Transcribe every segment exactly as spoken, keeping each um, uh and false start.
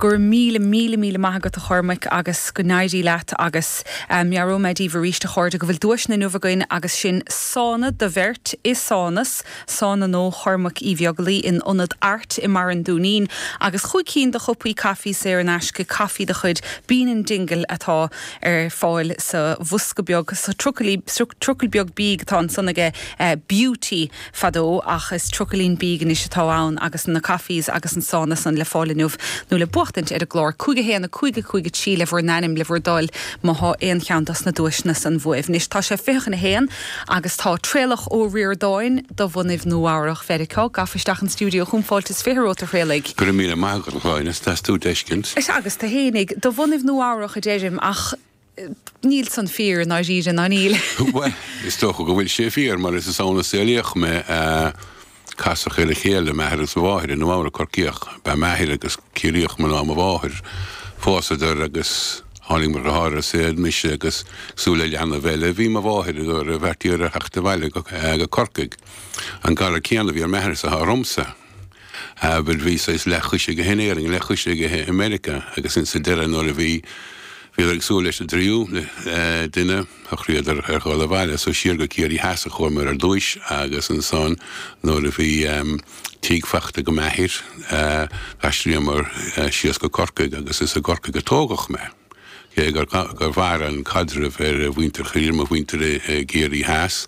Go raibh míle míle míle maith agat a Chormaic agus go n-éirí leat agus um, meabhróidh mé daoibh arís a chairde go bhfuil duaiseanna inniu againn agus sin sána do bheirt i Sánas, sána nó Chormaic Uí Bheaglaoich in ionad Art i mBarra an Dúinín agus chúig cinn de chupaí caife saor in aisce caife de chuid Bean and Dingle atá ar fáil sa bhosca beag sa trucail beag bídh atá ansan aige uh, Beauty fadó ach is trucailín bídh anois atá ann agus na cafés agus an sána san le fáil inniu nó le buachtaint ar an gclár cúig a haon a cúig a cúig a trí le bhur n-ainm le bhur dtoil má tá aon cheann dos na duaiseanna san uaibh. Anois tá sé fiche chun a haon agus tá Traolach Ó Ríordáin de bhunaibh Nua-Eabhrac Mheiriceá gafa isteach an stiúideo chun fáilte is fiche romhat a Thraolaigh. Go míle maith agat is tú deiscint. Is agus tá hénig de bhunaibh Nua-Eabhrac a deirim ach níl san fíor ná ríre ná níl. Well, is dócha go bhfuil sé fíor mar is ann a saolaíodh mé casadh ar a chéile m'athair is mháthair i Nua-Eabhrac Corcaíoch ba m'athair agus Ciarraíoch mná mo mháthair phósadar agus tháinig mo dheartháir ar an saol mise agus cosúil le leanbh eile bhí mo mháthair gur bheartaíodar a theacht abhaile go Corcaigh. An galar céanna a bhí ar m'athair is atá ormsa. Bhuel bhí saghas leathchois aige in Éirinn leathchois aige i Meiriceá agus insa deireadh nuair a bhí Bhíodar ag súil leis an dtríú duine shocraíodar ar dhul abhaile, so siar go Ciarraí Theas a chuamar ar dtúis agus ansan nuair a bhí tigh faighte ag m'athair d'aistríomar síos go Corcaigh agus is i gCorcaigh a tógadh mé. Cé gur gur mhair an caidreamh ar mhuintir Chiarraí mo mhuintir i gCiarraí Theas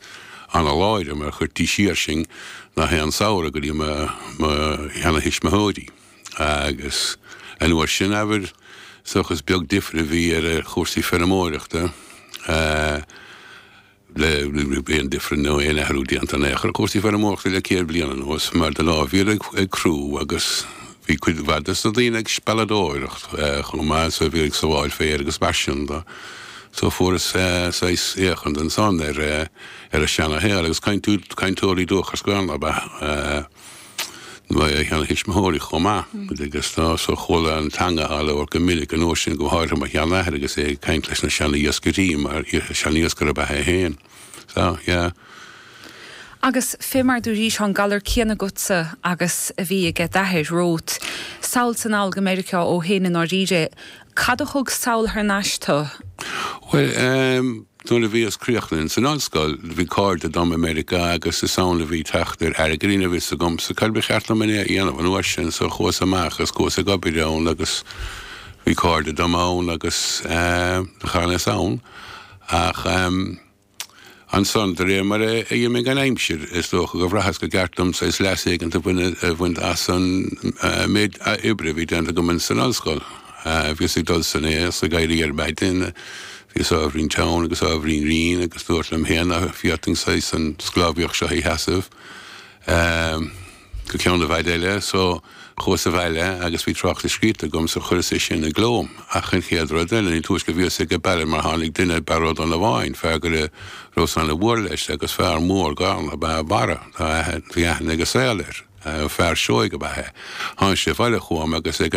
an-láidir mar chuirtí siar sinn gach aon samhradh go dtí mo mo sheanathuismitheoirí agus an uair sin abair is dócha is beag difir a bhí ar chúrsaí feirmeoireachta le aon difir nó aon athrú déanta in aon chor ar chúrsaí feirmeoireachta le céad bliain anuas mar de ghnáth bhíodar ag crú agus bhí cuid mhaith de na daoine ag spealadóireacht chomh maith so bhí ag sabháil féir agus mar sin de. So fuaireas saghas féachaint ansan ar ar an seana-shaol agus cainteoirí dúchais Gaelainne ab ea mo sheanathuismitheoirí chomh maith agus tá so chuala an teanga á labhairt go minic an uair sin go háirithe mo sheanathair agus é ag caint leis na seana-iascairí mar seana-iascaire ab ea é féin. So, yeah. Agus fé mar dúraís an galar céanna agatsa agus a bhí aige d'athair romhat. Sall is anall go Meiriceá ó shin i ndáiríre. Cad a thug sall thar n-ais tú? Well, um, nuair a bhíos críochnaithe san ollscoil, bhí cairde dom i Meiriceá agus is ann a bhí teacht ar airgead níl a fhios agamsa cad ba cheart dom a dhéanamh an uair sin so chuas amach agus chuas ag obair ann agus bhí cairde dom ann agus uh, chanas ann ach um, Ansan de réir mar a d'imigh an aimsir is dócha go bhraitheas gur cheart dom saghas leas éigin a bhaint as an méid oibre a bhí déanta agam san ollscoil. Bhíos ag dul san aos ag éirí ar maidin, bhíos ábhairín teann agus ábhairín righin agus dúirt liom féin nach bhféadfainn saghas an sclábhaíocht seo a sheasamh go ceann i bhfad eile. So chuas abhaile agus bhí tráchtas scríte agam so chuireas é sin i gcló. Ach an chéad rud eile, ní túisce a bhíos ag baile mar tháinig duine Barra Ó Donnabháin, fear go rabhas ana-mhór leis agus fear mór gorm ab ea Barra, bhí aithne ag an saol air, fear seoigh ab ea é. Tháinig sé abhaile chugam agus ag